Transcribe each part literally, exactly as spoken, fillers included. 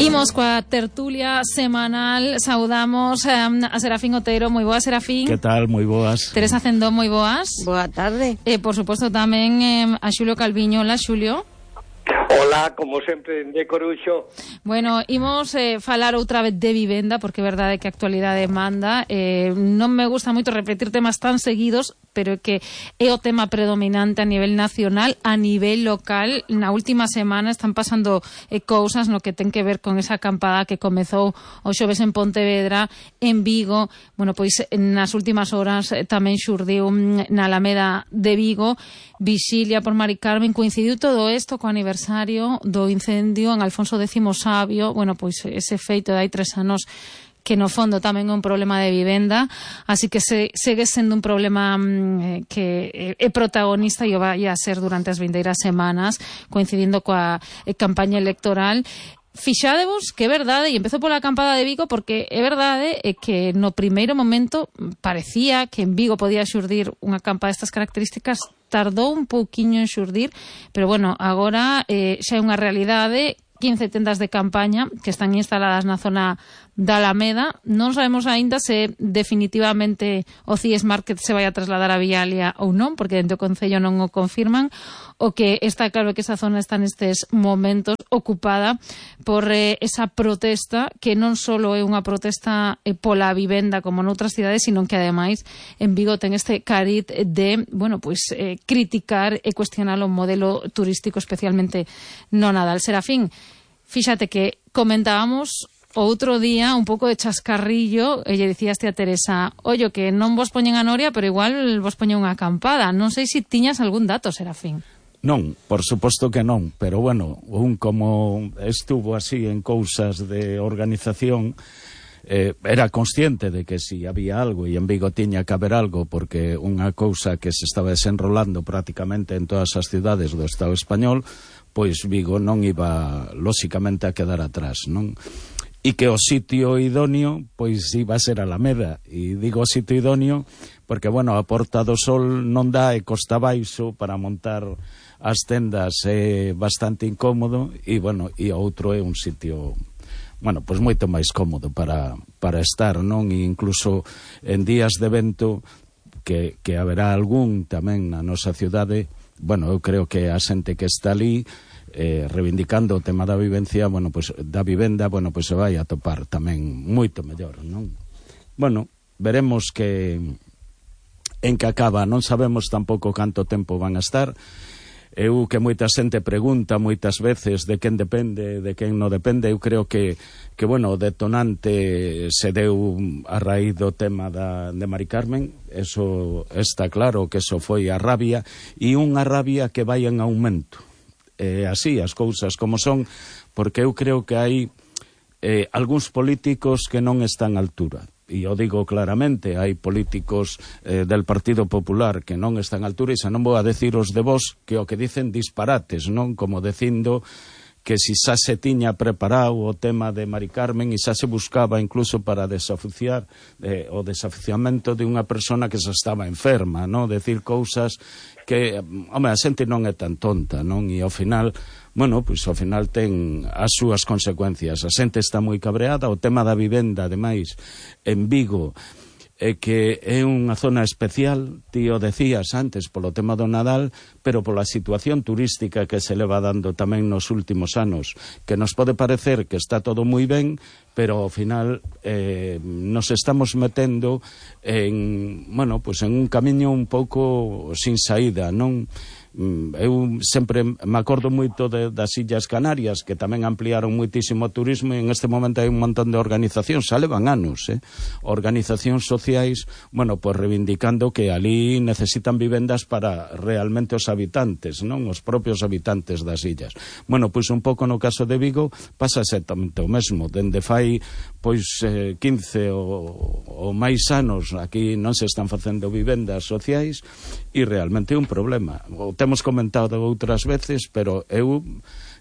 Imos coa tertulia semanal. Saudamos eh, a Serafín Otero. Moi boas, Serafín. Que tal? Moi boas. Teresa Cendó, moi boas. Boa tarde. E, por suposto, tamén eh, a Xulio Calviño. Hola, Xulio. Hola, como sempre, de Coruxo. Bueno, imos eh, falar outra vez de vivenda, porque é verdade que a actualidade manda. Eh, non me gusta moito repetir temas tan seguidos, pero que é o tema predominante a nivel nacional, a nivel local. Na última semana están pasando eh, cousas no que ten que ver con esa acampada que comezou o xoves en Pontevedra, en Vigo. Bueno, pois nas últimas horas eh, tamén xurdiu na Alameda de Vigo, vixilia por Mari Carmen. Coincidiu todo isto co aniversario do incendio en Alfonso X Sabio. Bueno, pois ese feito de hai tres anos que no fondo tamén é un problema de vivenda, así que se, segue sendo un problema mm, que é protagonista e o vai a ser durante as vindeiras semanas, coincidindo coa eh, campaña electoral. Fixadevos que é verdade, e empezo pola acampada de Vigo, porque é verdade é que no primeiro momento parecía que en Vigo podía xurdir unha acampada destas características. Tardou un pouquiño en xurdir, pero bueno, agora eh, xa é unha realidade. quince tendas de campaña que están instaladas na zona da Alameda. Non sabemos aínda se definitivamente o C I E S Market se vai a trasladar a Vialia ou non, porque dentro do Concello non o confirman. O que está claro que esa zona está nestes momentos ocupada por eh, esa protesta, que non só é unha protesta eh, pola vivenda como noutras cidades, sino que ademais en Vigo ten este cariz de, bueno, pues eh, criticar e cuestionar o modelo turístico, especialmente no Nadal. Serafín, fíxate que comentábamos outro día un pouco de chascarrillo, e lle dicíaste a Teresa, ollo, que non vos poñen a noria, pero igual vos poñen unha acampada. Non sei se tiñas algún dato, Serafín. Non, por suposto que non, pero bueno, un como estuvo así en cousas de organización, eh, era consciente de que si había algo, e en Vigo tiña que haber algo, porque unha cousa que se estaba desenrolando prácticamente en todas as cidades do Estado español, pois Vigo non iba, lóxicamente, a quedar atrás, non? E que o sitio idóneo, pois iba a ser Alameda. E digo sitio idóneo porque, bueno, a Porta do Sol non dá, e costa baixo para montar as tendas é bastante incómodo, e, bueno, e outro é un sitio, bueno, pois moito máis cómodo para, para estar, non? E incluso en días de evento, que, que haberá algún tamén na nosa cidade, bueno, eu creo que a xente que está ali eh, reivindicando o tema da vivencia, bueno, pues, da vivenda, bueno, pues se vai a topar tamén moito mellor, non? Bueno, veremos que en que acaba, non sabemos tampouco canto tempo van a estar. Eu que moita xente pregunta moitas veces de quen depende, de quen non depende. Eu creo que, que bueno, o detonante se deu a raíz do tema da, de Mari Carmen. Eso está claro, que eso foi a rabia, e unha rabia que vai en aumento. Eh, así, as cousas como son, porque eu creo que hai eh, algúns políticos que non están á altura. E eu digo claramente, hai políticos eh, del Partido Popular que non están á altura, e xa non vou a decir os de vos que o que dicen disparates, non? Como dicindo que si xa se tiña preparado o tema de Mari Carmen e xa se buscaba incluso para desaficiar eh, o desaficiamento de unha persona que xa estaba enferma, non? Decir cousas que, home, a xente non é tan tonta, non? E ao final, bueno, pois ao final ten as súas consecuencias. A xente está moi cabreada. O tema da vivenda, ademais, en Vigo, é que é unha zona especial, ti o decías antes, polo tema do Nadal, pero pola situación turística que se leva dando tamén nos últimos anos, que nos pode parecer que está todo moi ben, pero ao final eh, nos estamos metendo en, bueno, pues en un camiño un pouco sin saída, non? Eu sempre me acordo moito de, das Illas Canarias, que tamén ampliaron moitísimo o turismo, e en este momento hai un montón de organizacións, xa levan anos, eh? organizacións sociais, bueno, pues reivindicando que ali necesitan vivendas para realmente os habitantes, non? Os propios habitantes das illas. Bueno, pois un pouco no caso de Vigo pasa exactamente o mesmo. Dende fai pois eh, quince ou, ou máis anos aquí non se están facendo vivendas sociais, e realmente é un problema. O temos comentado outras veces, pero eu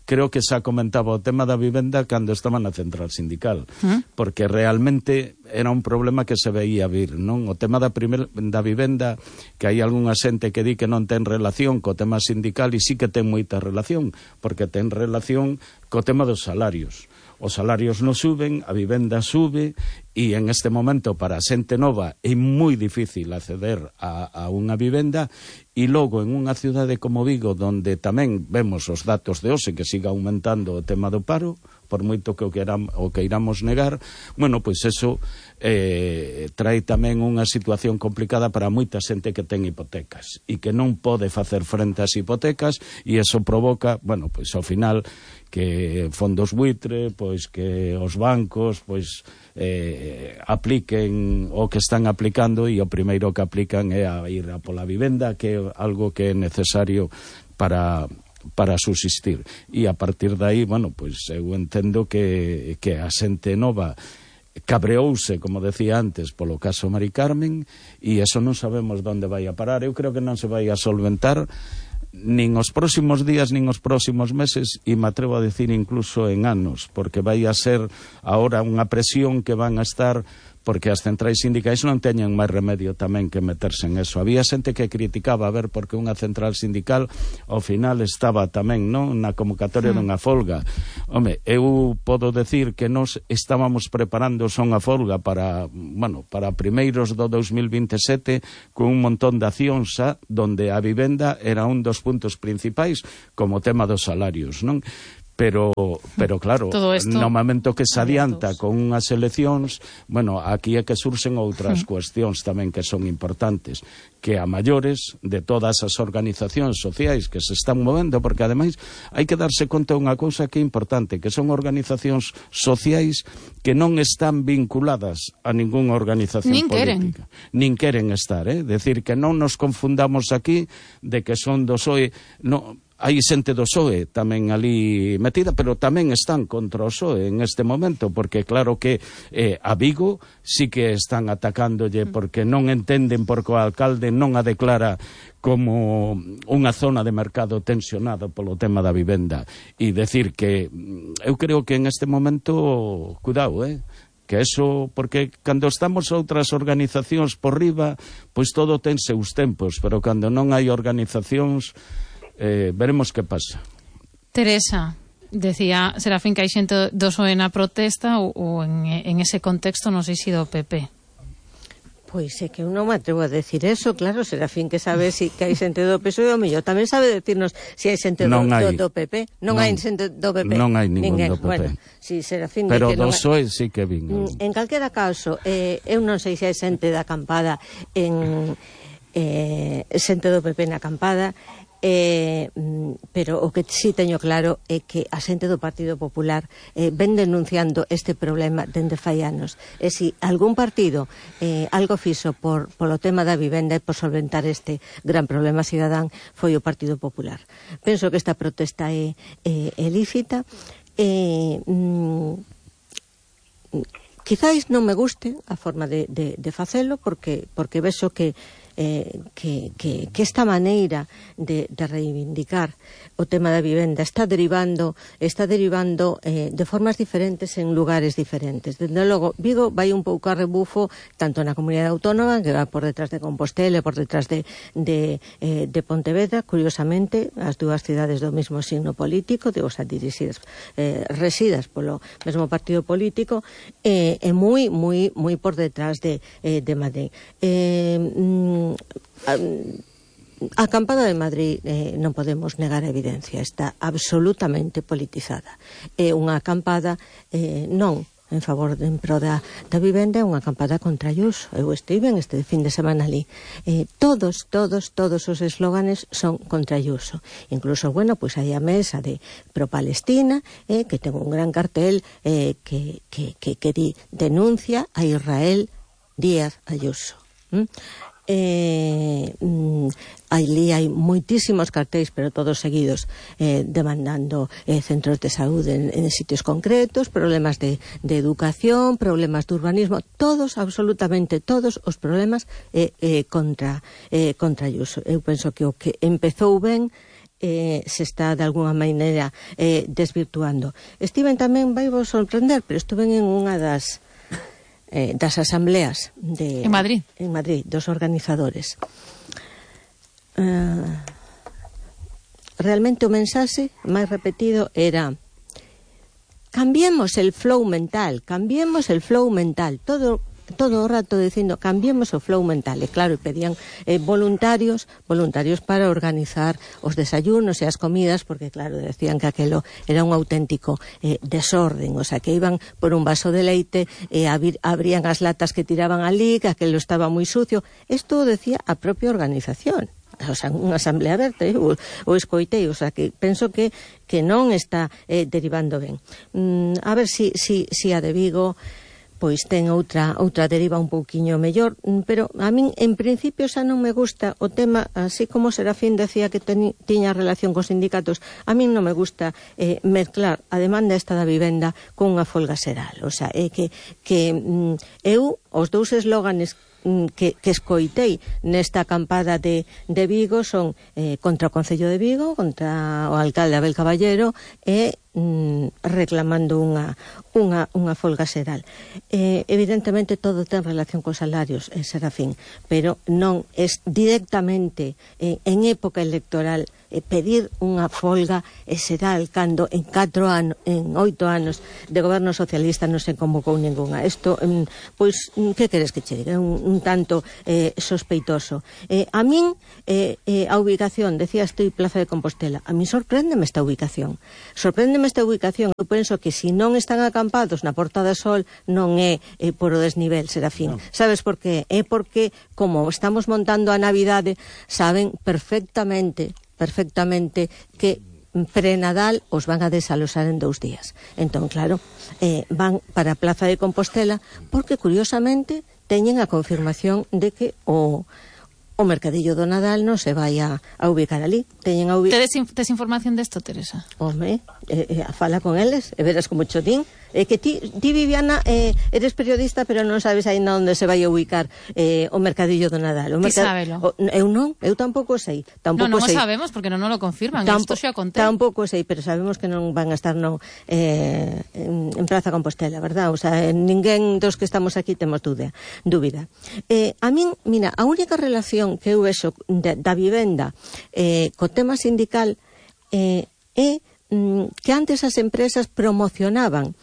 creo que xa comentaba o tema da vivenda cando estaba na central sindical, ¿Mm? Porque realmente era un problema que se veía vir, non? O tema da, primer, da vivenda, que hai algunha xente que di que non ten relación co tema sindical, e sí que ten moita relación, porque ten relación co tema dos salarios. os salarios non suben, a vivenda sube, e en este momento para a xente nova é moi difícil acceder a, a unha vivenda, e logo en unha cidade como Vigo, donde tamén vemos os datos de hoxe que siga aumentando o tema do paro, por moito que o, que eram, o que iramos negar, bueno, pois eso eh, trae tamén unha situación complicada para moita xente que ten hipotecas e que non pode facer frente ás hipotecas, e eso provoca, bueno, pois ao final que fondos buitre, pois que os bancos pois eh, apliquen o que están aplicando, e o primeiro que aplican é a ir a pola vivenda, que é algo que é necesario para para subsistir, e a partir de aí, bueno, pois eu entendo que, que a xente nova cabreouse, como decía antes, polo caso Mari Carmen, e eso non sabemos onde vai a parar. Eu creo que non se vai a solventar nin os próximos días, nin os próximos meses, e me atrevo a decir incluso en anos, porque vai a ser ahora unha presión que van a estar, porque as centrais sindicais non teñen máis remedio tamén que meterse en eso. Había xente que criticaba a ver porque unha central sindical ao final estaba tamén, non, na convocatoria mm. dunha folga. Home, eu podo decir que nós estábamos preparando son a folga para, bueno, para primeiros do dos mil veintesete, con un montón de accións xa, donde a vivenda era un dos puntos principais, como tema dos salarios, non? Pero, pero claro, no momento que se adianta con unhas eleccións, bueno, aquí é que surxen outras cuestións tamén que son importantes, que a maiores de todas as organizacións sociais que se están movendo, porque ademais hai que darse conta unha cousa que é importante, que son organizacións sociais que non están vinculadas a ningunha organización nin política. Queren. Nin queren estar, eh? Decir que non nos confundamos aquí de que son do P S O E... No, hai xente do P S O E tamén ali metida, pero tamén están contra o P S O E en este momento, porque claro que eh, a Vigo sí que están atacándolle porque non entenden porque o alcalde non a declara como unha zona de mercado tensionado polo tema da vivenda. E decir que eu creo que en este momento, cuidado, eh? que eso, porque cando estamos outras organizacións por riba, pois todo ten seus tempos, pero cando non hai organizacións, Eh, veremos que pasa. Teresa, decía Serafín que hai xente do P S O E na protesta, ou, ou en, en ese contexto non sei se do P P. Pois é que eu non me atrevo a decir eso, claro, Serafín que sabe si que hai xente do P S O E, o mellor tamén sabe decirnos se si hai xente do, do, do P P. Non, non hai xente do P P. Non hai ningún do P P. Bueno, si Serafín pero que do P P S O E sí que vin. En calquera caso, eh, eu non sei se hai xente da acampada en eh, xente do P P na acampada. Eh, pero o que sí teño claro é que a xente do Partido Popular eh, ven denunciando este problema dende fai anos, e se si algún partido eh, algo fixo por, polo tema da vivenda e por solventar este gran problema cidadán foi o Partido Popular. Penso que esta protesta é, é, é lícita, e mm, quizáis non me guste a forma de, de, de facelo, porque, porque vexo que Eh, que, que, que esta maneira de, de reivindicar o tema da vivenda está derivando está derivando eh, de formas diferentes en lugares diferentes. Desde logo, Vigo vai un pouco a rebufo tanto na comunidade autónoma, que va por detrás de Compostela e por detrás de, de, eh, de Pontevedra, curiosamente, as dúas cidades do mesmo signo político, de, o sea, dirixidas, eh, residas polo mesmo partido político, e eh, moi, moi, moi por detrás de, eh, de Madrid. Eh, mm, A acampada de Madrid eh, non podemos negar a evidencia, está absolutamente politizada. É unha acampada eh, non en favor de, en pro da, da vivenda, é unha acampada contra Ayuso. Eu estive este fin de semana ali. Eh, todos, todos, todos os eslóganes son contra Ayuso. Incluso, bueno, pois pues hai a mesa de pro-Palestina, eh, que ten un gran cartel eh, que, que, que, que di, denuncia a Israel Díaz Ayuso. ¿Mm? Eh, mm, ali hai moitísimos cartéis, pero todos seguidos eh, demandando eh, centros de saúde en, en sitios concretos, problemas de, de educación, problemas de urbanismo, todos, absolutamente todos os problemas eh, eh, contra eh, contra Ayuso. Eu penso que o que empezou ben eh, se está de alguna maneira eh, desvirtuando. Estiven tamén, vai vos sorprender, pero estuven en unha das Eh, das asambleas de, en Madrid en Madrid, dos organizadores. Uh, realmente o mensaxe máis repetido era cambiemos el flow mental, cambiemos el flow mental, todo todo o rato dicindo cambiemos o flow mental, e claro, pedían eh, voluntarios voluntarios para organizar os desayunos e as comidas, porque claro, decían que aquelo era un auténtico eh, desorden, o sea, que iban por un vaso de leite e eh, abrían as latas que tiraban ali, que aquelo estaba moi sucio. Isto decía a propia organización, o sea, unha asamblea aberta, eh, o, o escoitei, o sea, que penso que que non está eh, derivando ben. Mm, a ver si, si, si a de Vigo pois ten outra outra deriva un pouquiño mellor, pero a min en principio xa non me gusta o tema, así como Serafín decía que teni, tiña relación cos sindicatos, a min non me gusta eh, mezclar a demanda esta da vivenda con unha folga xeral, o sea, é que, que mm, eu, os dous eslóganes que, que escoitei nesta acampada de, de Vigo son eh, contra o Concello de Vigo, contra o alcalde Abel Caballero e mm, reclamando unha, unha, unha folga xeral. Eh, evidentemente todo ten relación cos salarios, eh, Serafín, pero non es directamente eh, en época electoral eh, pedir unha folga xeral cando en catro anos, en oito anos de goberno socialista non se convocou ninguna. Isto, mm, pois, que queres que che diga? Un, un tanto eh, sospeitoso. Eh, a min, eh, eh, a ubicación, decía estoy Plaza de Compostela, a min sorpréndeme esta ubicación. Sorpréndeme esta ubicación. Eu penso que se non están acampados na Porta do Sol non é eh, por o desnivel, Serafín. No. Sabes por qué? É porque, como estamos montando a Navidade, saben perfectamente, perfectamente que pre-Nadal os van a desalosar en dous días. Entón, claro, eh, van para a Plaza de Compostela porque, curiosamente, teñen a confirmación de que o, o mercadillo do Nadal non se vai a, a ubicar ali. Teñen a ubicar... Tedes, in, tes información desto, Teresa? Home, eh, eh, fala con eles e verás como cho din. Eh, que ti, ti Viviana, eh, eres periodista, pero non sabes aínda onde se vai a ubicar eh, o mercadillo do Nadal. O Ti mercad... sábelo? O, eu non, eu tampouco sei. Tampouco non, non sei. o sabemos, porque non nos lo confirman. Tampo, Isto xa contei. Tampouco sei, pero sabemos que non van a estar no, eh, en, en Plaza Compostela, verdad? O sea, ninguén dos que estamos aquí temos dúbida. dúbida. Eh, a min, mira, a única relación que eu vexo da, da vivenda eh, co tema sindical eh, é que antes as empresas promocionaban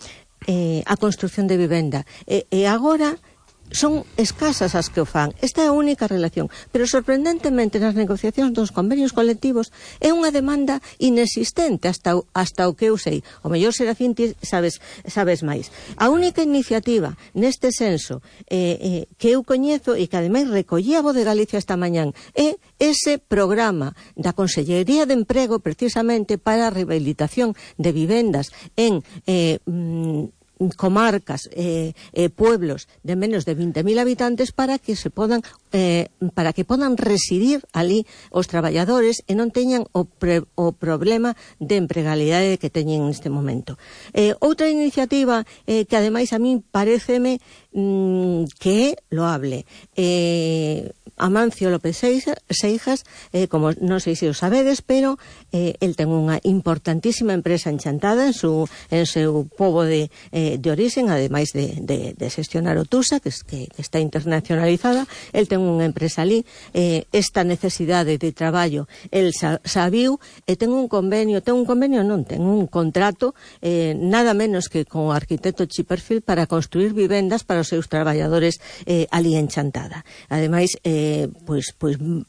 eh, a construción de vivenda e, e agora son escasas as que o fan. Esta é a única relación, pero sorprendentemente nas negociacións dos convenios colectivos é unha demanda inexistente hasta, hasta o que eu sei. O mellor Serafín ti sabes, sabes máis. A única iniciativa neste senso eh, eh, que eu coñezo e que ademais recollía a Voz de Galicia esta mañán é ese programa da Consellería de Emprego precisamente para a rehabilitación de vivendas en eh, mm, comarcas, eh, eh, pueblos de menos de veinte mil habitantes para que se podan eh, para que podan residir ali os traballadores e non teñan o, pre, o problema de empregalidade que teñen neste momento. Eh, outra iniciativa eh, que ademais a min paréceme mm, que é loable. Eh, Amancio López Seijas, eh, como non sei se o sabedes, pero eh, el ten unha importantísima empresa en Chantada en, su, en seu pobo de, eh, de orixen, ademais de, de, de xestionar o Tusa, que, que, que está internacionalizada. El ten unha empresa ali, eh, esta necesidade de traballo el sa, sabiu e ten un convenio, ten un convenio non, ten un contrato eh, nada menos que con o arquitecto Chipperfield para construir vivendas para os seus traballadores eh, ali en Chantada. Ademais, eh, Eh, pois, pois m-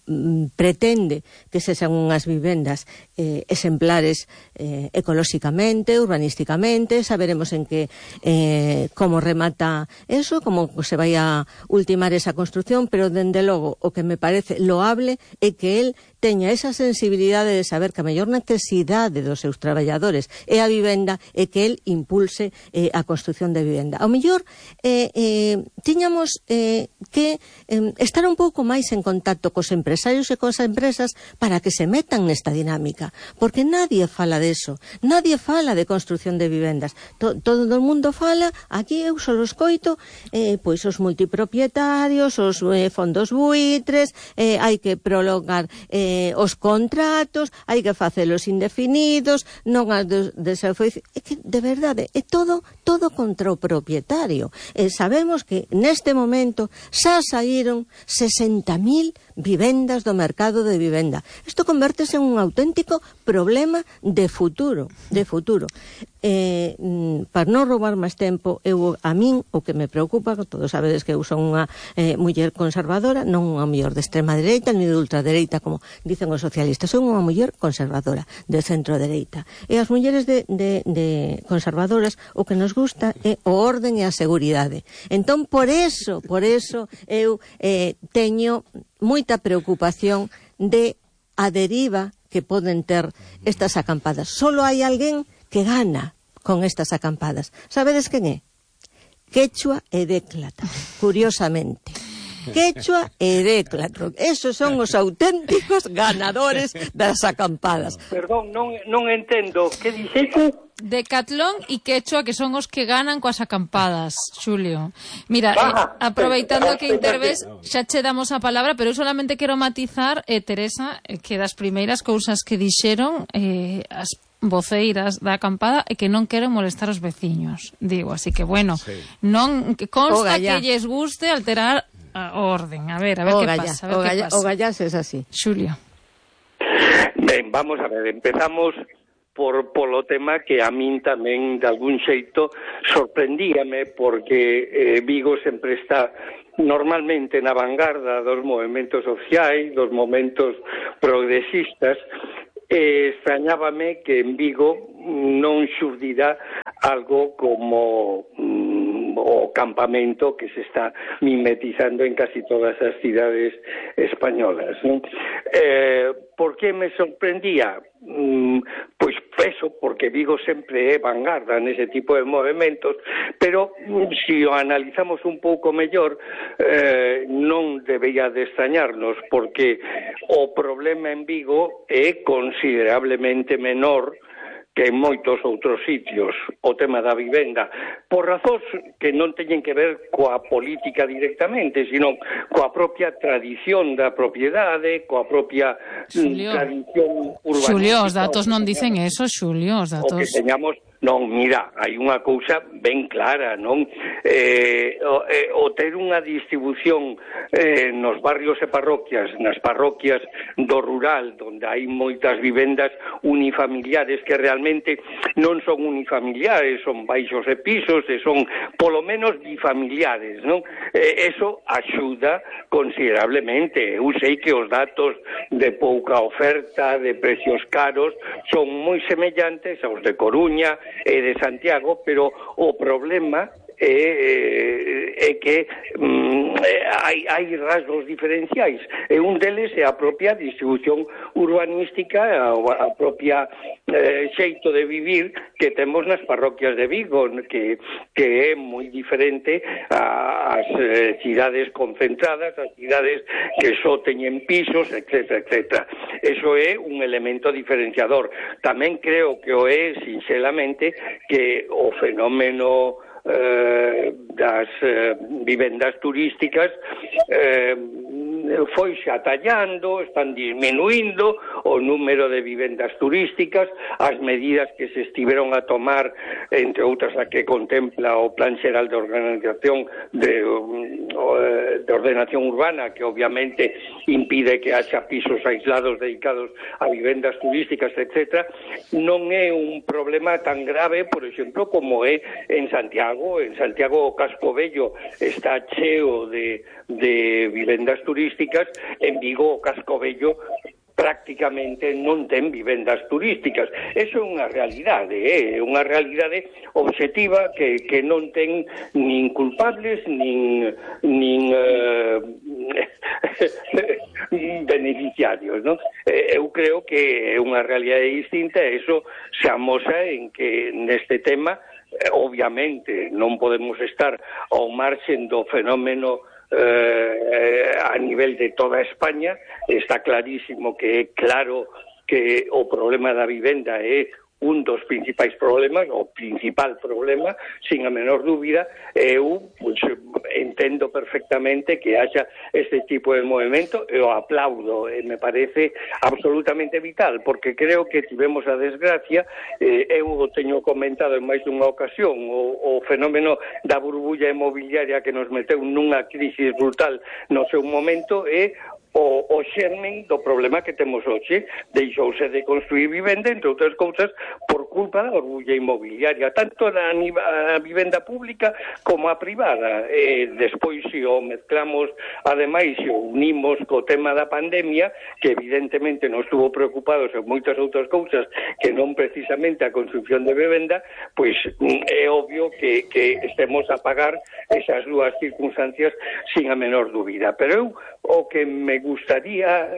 pretende que sexan unhas vivendas eh, exemplares eh, ecolóxicamente, urbanísticamente. Saberemos en que eh, como remata eso, como se vai a ultimar esa construción, pero dende logo o que me parece loable é que el teña esa sensibilidade de saber que a mellor necesidade dos seus traballadores é a vivenda e que el impulse eh, a construción de vivenda. Ao mellor eh, eh, tiñamos eh, que eh, estar un pouco máis en contacto cos empresarios e cos empresas para que se metan nesta dinámica, porque nadie fala deso, nadie fala de construción de vivendas. To, todo o mundo fala, aquí eu só os coito, eh, pois os multipropietarios, os eh, fondos buitres, eh, hai que prolongar eh, os contratos, hai que facelos indefinidos, non as de, de é que de verdade é todo todo contra o propietario. Eh, sabemos que neste momento xa saíron sesenta mil vivendas do mercado de vivenda. Isto convértese en un auténtico segundo problema de futuro, de futuro. Eh, para non roubar máis tempo, eu, a min, o que me preocupa, todos sabedes que eu son unha eh, muller conservadora, non unha muller de extrema dereita, ni de ultradereita, como dicen os socialistas, son unha muller conservadora, de centro dereita. E as mulleres de, de, de conservadoras, o que nos gusta é o orden e a seguridade. Entón, por eso, por eso, eu eh, teño moita preocupación de a deriva que poden ter estas acampadas. Solo hai alguén que gana con estas acampadas. Sabedes quen é? Quechua e Déclata, curiosamente. Quechua e Déclata. Esos son os auténticos ganadores das acampadas. Perdón, non, non entendo. Que dixete? Decatlón e Quechua, que son os que ganan coas acampadas, Xulio. Mira, eh, aproveitando que interves, xa che damos a palabra, pero eu solamente quero matizar, eh, Teresa, eh, que das primeiras cousas que dixeron eh, as voceiras da acampada e que non queren molestar os veciños, digo, así que bueno, sí. non que consta que lles guste alterar a orden. A ver, a ver o que galla, pasa, a ver o que galla, pasa. O gallas es así. Xulio. Ben, vamos a ver, empezamos por polo tema que a min tamén de algún xeito sorprendíame, porque eh, Vigo sempre está normalmente na vanguarda dos movementos sociais, dos momentos progresistas. E extrañábame que en Vigo non xurdira algo como mm, o campamento que se está mimetizando en casi todas as cidades españolas, ¿no? Eh, por que me sorprendía? Mm, pois eso, porque Vigo sempre é vanguarda nese tipo de movimentos, pero mm, se o analizamos un pouco mellor, eh, non debía de extrañarnos, porque o problema en Vigo é considerablemente menor que en moitos outros sitios, o tema da vivenda, por razóns que non teñen que ver coa política directamente, sino coa propia tradición da propiedade, coa propia Xulio. tradición urbanística. Xulio, os datos non dicen eso, Xulio, os datos... O que teñamos... Non, mira, hai unha cousa ben clara, non? Eh, o, eh, o ter unha distribución eh, nos barrios e parroquias, nas parroquias do rural, onde hai moitas vivendas unifamiliares que realmente non son unifamiliares, son baixos e pisos, e son polo menos bifamiliares, non? Eh, eso axuda considerablemente. Eu sei que os datos de pouca oferta, de precios caros, son moi semellantes aos de Coruña e de Santiago, pero o problema é, é que mm, hai, hai rasgos diferenciais, e un deles é a propia distribución urbanística, a, a propia eh, xeito de vivir que temos nas parroquias de Vigo, que, que é moi diferente ás eh, cidades concentradas, as cidades que só teñen pisos, etcétera, etcétera. Eso é un elemento diferenciador. Tamén creo que o é, sinceramente, que o fenómeno Eh, das eh, vivendas turísticas eh, foi xa tallando, están disminuindo o número de vivendas turísticas, as medidas que se estiveron a tomar, entre outras a que contempla o Plan Xeral de Organización de, de Ordenación Urbana, que obviamente impide que haxa pisos aislados dedicados a vivendas turísticas, etcétera, non é un problema tan grave, por exemplo, como é en Santiago. En Santiago o Casco Vello está cheo de, de vivendas turísticas, en Vigo o Casco Vello prácticamente non ten vivendas turísticas. Eso é unha realidade, é eh? unha realidade obxectiva que, que non ten nin culpables, nin, nin uh, beneficiarios, non? Eu creo que é unha realidade distinta, e eso se amosa en que neste tema, obviamente, non podemos estar ao marxen do fenómeno Eh, a nivel de toda España. Está clarísimo que é claro que o problema da vivenda é un dos principais problemas, o principal problema, sin a menor dúbida. Eu pues, entendo perfectamente que haxa este tipo de movimento, e o aplaudo, e me parece absolutamente vital, porque creo que tivemos a desgracia, eh, eu o teño comentado en máis dunha ocasión, o, o fenómeno da burbulla inmobiliaria que nos meteu nunha crisis brutal no seu momento, é o, o xermen do problema que temos hoxe. Deixouse de construir vivenda, entre outras cousas, por culpa da orbulla inmobiliaria, tanto na a vivenda pública como a privada. E despois, se o mezclamos, ademais, se o unimos co tema da pandemia, que evidentemente nos estuvo preocupados en moitas outras cousas que non precisamente a construcción de vivenda, pois é obvio que, que estemos a pagar esas dúas circunstancias sin a menor dúbida. Pero eu, o que me gustaría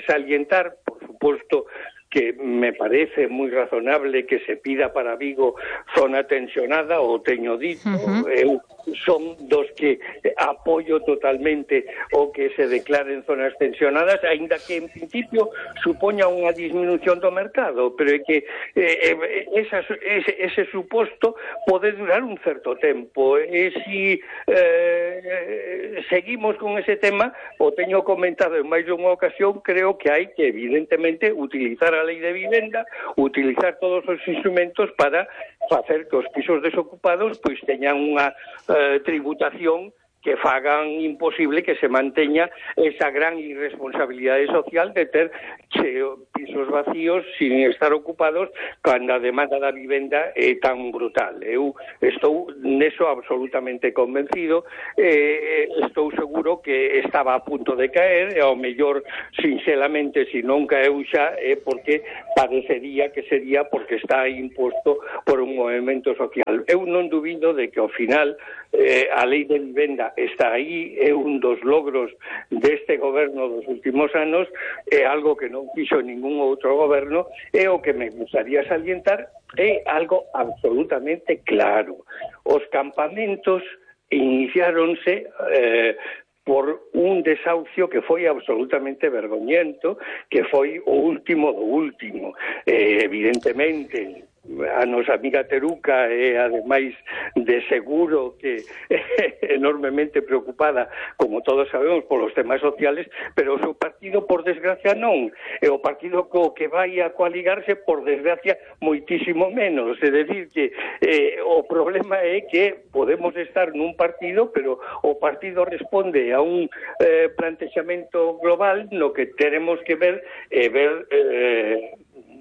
salientar, por suposto, que me parece moi razonable que se pida para Vigo zona tensionada, o teño dito, uh-huh. eu son dos que apoio totalmente o que se declaren zonas tensionadas, aínda que en principio supoña unha disminución do mercado, pero é que eh, esa, ese, ese suposto pode durar un certo tempo, e si eh, seguimos con ese tema, o teño comentado en máis dunha ocasión, creo que hai que evidentemente utilizar a lei de vivenda, utilizar todos os instrumentos para facer que os pisos desocupados pois teñan unha eh, tributación que fagan imposible que se manteña esa gran irresponsabilidade social de ter cheo, pisos vacíos sin estar ocupados cando a demanda da vivenda é tan brutal. Eu estou neso absolutamente convencido, eh, estou seguro que estaba a punto de caer, e ao mellor, sinceramente, se non caeu xa, é porque parecería que sería porque está imposto por un movimento social. Eu non dubido de que ao final eh, a lei de vivenda está aí, é un dos logros deste goberno dos últimos anos, é algo que non fixo ningún outro goberno, e o que me gustaría salientar é algo absolutamente claro. Os campamentos iniciáronse eh, por un desahucio que foi absolutamente vergoñento, que foi o último do último. Eh, evidentemente, a nosa amiga Teruca é, ademais de seguro, que é enormemente preocupada, como todos sabemos, polos temas sociales, pero o seu partido, por desgracia, non. E o partido co que vai a coaligarse, por desgracia, moitísimo menos. É dicir, que eh, o problema é que podemos estar nun partido, pero o partido responde a un eh, plantexamento global no que teremos que ver e eh, ver... Eh,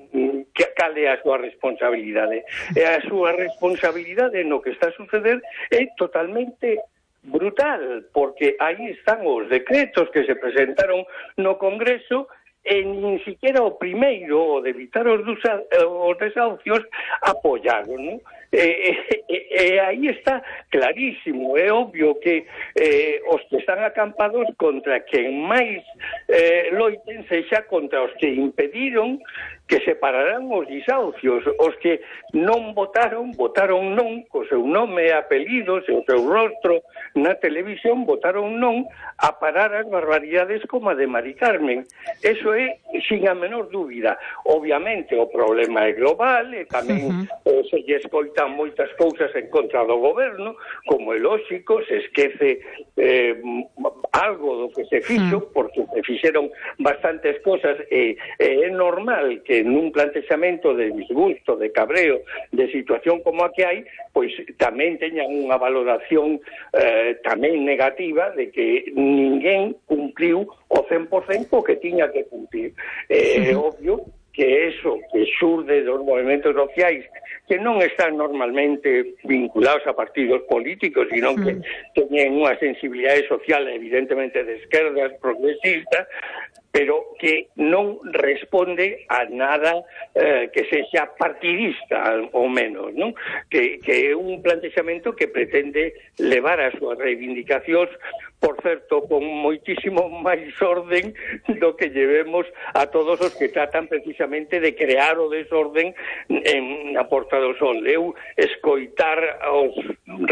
que cal é a súa responsabilidade. E a súa responsabilidade no que está a suceder é totalmente brutal, porque aí están os decretos que se presentaron no Congreso e nin siquiera o primeiro, o de evitar os, dusa, os desahucios, apoyaron, non? E, e, e aí está clarísimo, é obvio que eh, os que están acampados contra quen máis eh, loiten sexa contra os que impediron que se pararán os desahucios. Os que non votaron, votaron non, co seu nome e apelidos e o seu rostro na televisión, votaron non a parar as barbaridades como a de Mari Carmen. Eso é sin a menor dúbida. Obviamente o problema é global, e tamén uh-huh. eh, se lle escoitan moitas cousas en contra do goberno, como é lóxico, se esquece eh, algo do que se fixo, uh-huh. porque se fixeron bastantes cosas, e eh, é normal que nun plantexamento de disgusto, de cabreo, de situación como a que hai, pois tamén teñan unha valoración eh, tamén negativa de que ninguén cumpliu o cen por cento o que tiña que cumplir. É eh, obvio que eso que xurde dos movimentos sociais, que non están normalmente vinculados a partidos políticos, sino que teñen unha sensibilidade social evidentemente de esquerdas, progresistas, pero que non responde a nada eh, que sexa partidista, ao menos, non? Que, que é un plantexamento que pretende levar as súas reivindicacións, por certo, con moitísimo máis orden do que llevemos a todos os que tratan precisamente de crear o desorden en a Porta do Sol. Eu escoitar aos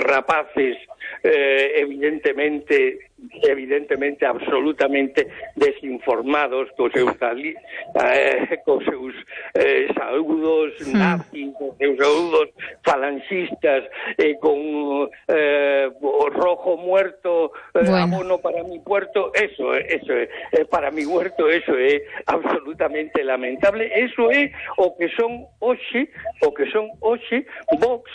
rapaces eh, evidentemente evidentemente absolutamente desinformados cos seus eh, cos seus eh, saúdos nazis, cos seus saúdos falanxistas, eh, con eh, o rojo muerto, eh, bueno. abono para mi puerto, eso, eso é, eh, para mi huerto, eso é absolutamente lamentable. Eso é o que son hoxe, o que son hoxe Vox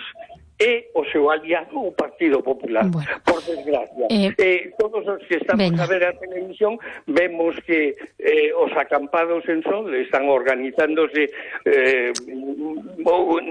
e o seu aliado o Partido Popular, bueno. por desgracia. Eh, eh, todos os que estamos venga. a ver a televisión vemos que eh, os acampados en Sol están organizándose eh,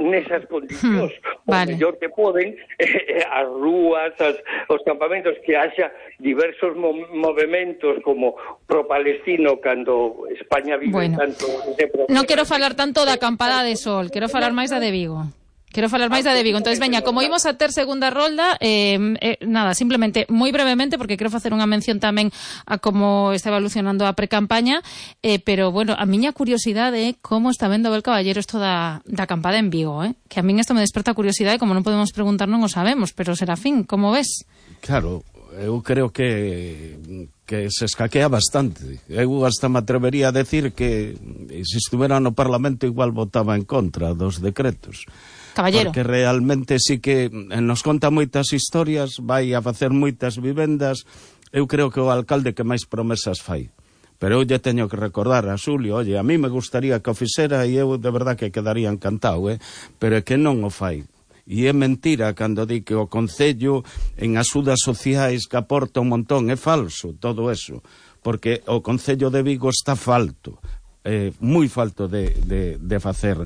nesas condicións, hmm, o vale. mellor que poden, eh, as rúas, as, os campamentos, que haxa diversos mo movimentos como pro-palestino cando España vive bueno. tanto ese problema. Non quero falar tanto da acampada de Sol, quero falar máis da de Vigo. Quero falar máis da de Vigo. Entonces, veña, como imos a ter segunda rolda, eh, eh, nada, simplemente, moi brevemente, porque quero facer unha mención tamén a como está evolucionando a precampaña, eh, pero, bueno, a miña curiosidade é como está vendo Abel Caballero isto da, da acampada en Vigo, eh? Que a min isto me desperta curiosidade, como non podemos preguntar, non o sabemos, pero, Serafín, como ves? Claro, eu creo que que se escaquea bastante. Eu hasta me atrevería a decir que se estuvera no Parlamento igual votaba en contra dos decretos. Caballero. Porque realmente sí que nos conta moitas historias, vai a facer moitas vivendas. Eu creo que o alcalde que máis promesas fai. Pero eu lle teño que recordar a Xulio, oye, a mí me gustaría que o fixera e eu de verdad que quedaría encantado, eh? Pero é que non o fai. E é mentira cando di que o Concello en axudas sociais que aporta un montón, é falso todo eso, porque o Concello de Vigo está falto, eh, moi falto de, de, de facer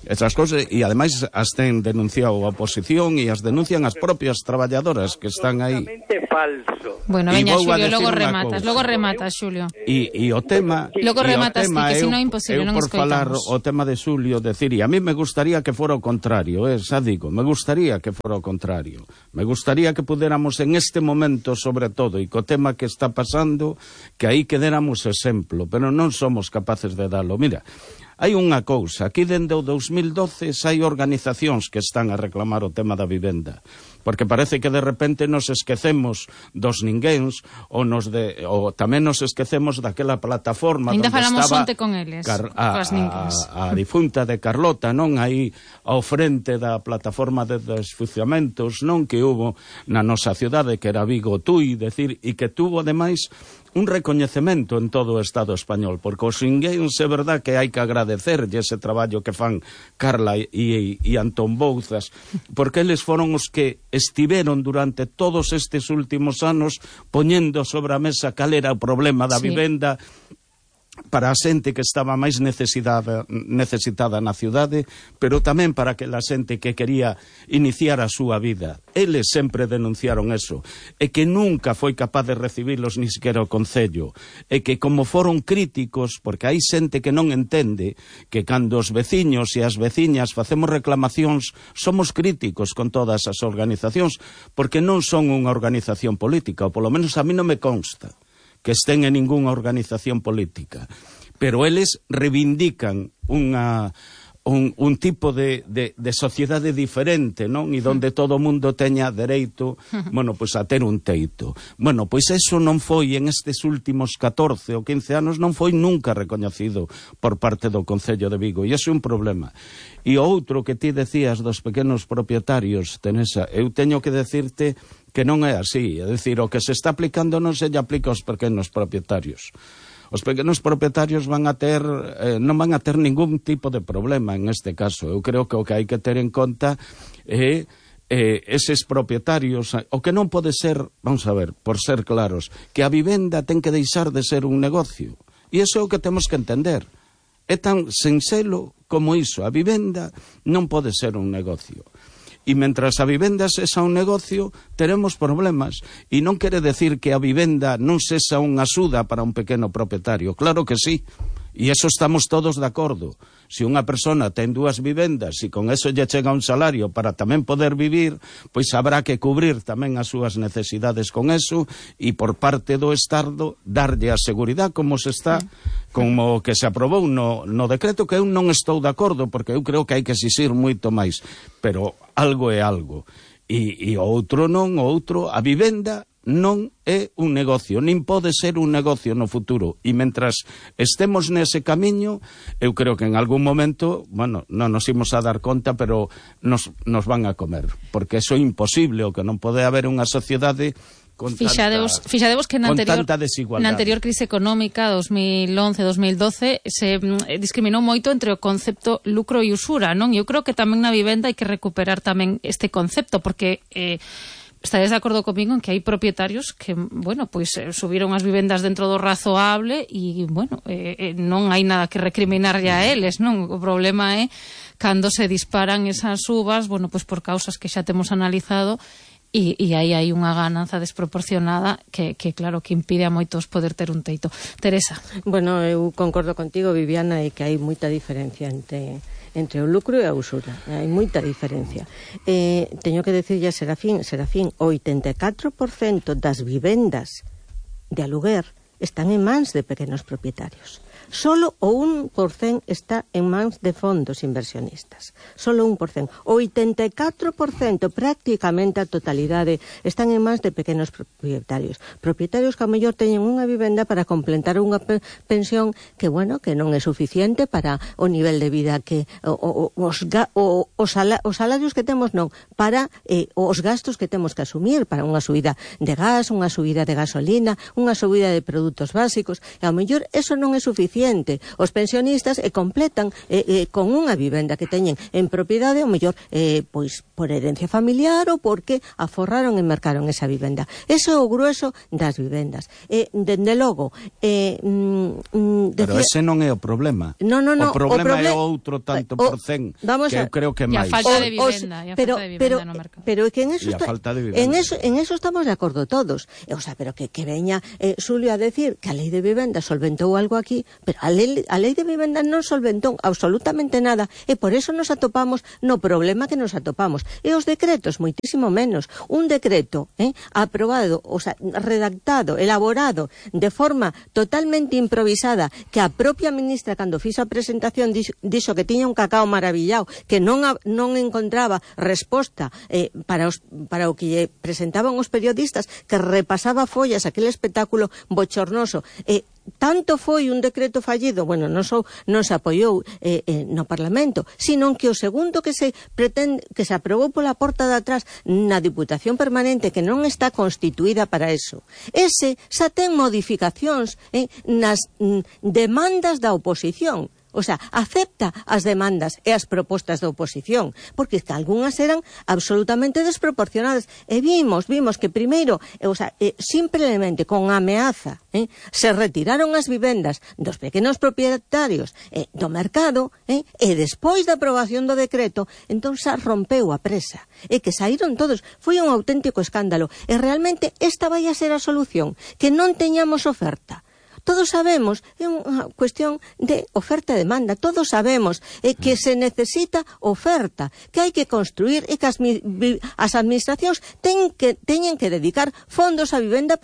esas cosas, e ademais as ten denunciado a oposición e as denuncian as propias traballadoras que están aí. Falso. Bueno, veña, Xulio, logo rematas, logo rematas, Xulio. E, e o tema... Logo rematas, ti, que se non é imposible, non escoitamos. Eu por falar o tema de Xulio, decir, e a mí me gustaría que fora o contrario, eh, xa digo, me gustaría que fora o contrario. Me gustaría que pudéramos en este momento, sobre todo, e co tema que está pasando, que aí quedéramos exemplo, pero non somos capaces de dalo. Mira, hai unha cousa, aquí dende o dos mil doce hai organizacións que están a reclamar o tema da vivenda, porque parece que de repente nos esquecemos dos ninguéns, ou, nos de, ou tamén nos esquecemos daquela plataforma ainda onde estaba onte con eles, Car a, a, a difunta de Carlota, non, aí ao frente da plataforma de desfuciamentos, non, que hubo na nosa cidade, que era Vigo Tui, decir, e que tuvo ademais un recoñecemento en todo o Estado español, porque os ninguéns é verdad que hai que agradecerlle ese traballo que fan Carla e, e, e Antón Bouzas, porque eles foron os que estiveron durante todos estes últimos anos poñendo sobre a mesa cal era o problema da sí. vivenda para a xente que estaba máis necesitada, necesitada na cidade, pero tamén para aquela xente que quería iniciar a súa vida. Eles sempre denunciaron eso, e que nunca foi capaz de recibilos ni sequera o Concello, e que como foron críticos, porque hai xente que non entende que cando os veciños e as veciñas facemos reclamacións, somos críticos con todas as organizacións, porque non son unha organización política, ou polo menos a mí non me consta que estén en ningunha organización política, pero eles reivindican unha, un, un tipo de, de, de sociedade diferente, non? E donde todo o mundo teña dereito, bueno, pois a ter un teito. Bueno, pois eso non foi en estes últimos catorce ou quince anos, non foi nunca recoñecido por parte do Concello de Vigo, e iso é un problema. E o outro que ti decías dos pequenos propietarios, Teresa, eu teño que decirte que non é así, é dicir, o que se está aplicando non se lle aplica aos pequenos propietarios. Os pequenos propietarios van a ter, eh, non van a ter ningún tipo de problema en este caso. Eu creo que o que hai que ter en conta é eh, eses propietarios, o que non pode ser, vamos a ver, por ser claros, que a vivenda ten que deixar de ser un negocio. E iso é o que temos que entender. É tan sinxelo como iso, a vivenda non pode ser un negocio. E mentras a vivenda sexa un negocio, teremos problemas. E non quere decir que a vivenda non sexa unha axuda para un pequeno propietario. Claro que sí. E eso estamos todos de acordo. Se unha persona ten dúas vivendas e con eso lle chega un salario para tamén poder vivir, pois habrá que cubrir tamén as súas necesidades con eso e por parte do Estado darlle a seguridade como se está, como que se aprobou no, no decreto, que eu non estou de acordo, porque eu creo que hai que exixir moito máis, pero algo é algo. E, e o outro non, o outro, a vivenda non é un negocio, nin pode ser un negocio no futuro. E mentras estemos nese camiño, eu creo que en algún momento, bueno, non nos imos a dar conta, pero nos, nos van a comer. Porque eso é imposible, o que non pode haber unha sociedade con fixadevos, tanta, fixadevos que na anterior, na anterior crise económica dos mil once dos mil doce se mm, discriminou moito entre o concepto lucro e usura, non? Eu creo que tamén na vivenda hai que recuperar tamén este concepto, porque eh, estaréis de acordo comigo en que hai propietarios que, bueno, pois pues, subiron as vivendas dentro do razoable e, bueno, eh, non hai nada que recriminarlle a eles, non? O problema é cando se disparan esas subas, bueno, pois pues por causas que xa temos analizado. E, e aí hai unha gananza desproporcionada que, que, claro, que impide a moitos poder ter un teito. Teresa. Bueno, eu concordo contigo, Viviana, e que hai moita diferencia entre, entre o lucro e a usura. Hai moita diferencia. Eh, teño que decirlle a Serafín, Serafín, o oitenta e catro por cento das vivendas de aluguer están en mans de pequenos propietarios. Solo o un por cento está en mans de fondos inversionistas. Solo un por cento. O oitenta e catro por cento, prácticamente a totalidade, están en mans de pequenos propietarios. Propietarios que a mellor teñen unha vivenda para completar unha pensión que, bueno, que non é suficiente para o nivel de vida que o, o, os, o, os, sala, os salarios que temos, non, para eh, os gastos que temos que asumir, para unha subida de gas, unha subida de gasolina, unha subida de produtos básicos, e a mellor eso non é suficiente. Os pensionistas e completan eh, eh, con unha vivenda que teñen en propiedade, o mellor eh, pois por herencia familiar ou porque aforraron e mercaron esa vivenda. Eso é o grueso das vivendas. Eh, dende logo eh, mm, decía... Pero ese non é o problema. No, no, no, o problema o proble... é outro tanto o, por cen que eu creo que é máis. E a falta de vivenda, o, os, pero, falta de vivenda pero, no mercado. Pero que en eso, está, en eso en eso estamos de acordo todos. O sea, pero que, que veña eh, Xulio a decir que a lei de vivenda solventou algo aquí, pero a lei, a lei de vivenda non solventou absolutamente nada, e por eso nos atopamos no problema que nos atopamos. E os decretos, moitísimo menos. Un decreto eh, aprobado, o sea, redactado, elaborado de forma totalmente improvisada, que a propia ministra, cando fixo a presentación, dixo, dixo que tiña un cacao maravillado, que non, a, non encontraba resposta eh, para, os, para o que lle presentaban os periodistas, que repasaba follas, aquel espectáculo bochornoso. Eh, tanto foi un decreto fallido, bueno, non, só, non se apoiou eh, eh, no Parlamento, sino que o segundo que se pretende, que se aprobou pola porta de atrás na Diputación Permanente, que non está constituída para eso, ese xa ten modificacións eh, nas mm, demandas da oposición. O sea, acepta as demandas e as propostas da oposición, porque que algunhas eran absolutamente desproporcionadas. E vimos, vimos que primeiro, o sea, eh, simplemente con ameaza, eh, se retiraron as vivendas dos pequenos propietarios eh, do mercado, eh, e despois da aprobación do decreto, entón xa rompeu a presa. E que saíron todos. Foi un auténtico escándalo. E realmente esta vai a ser a solución, que non teñamos oferta. Todos sabemos, é unha cuestión de oferta e demanda, todos sabemos eh, que se necesita oferta, que hai que construir e que as, as administracións ten que, teñen que dedicar fondos a vivenda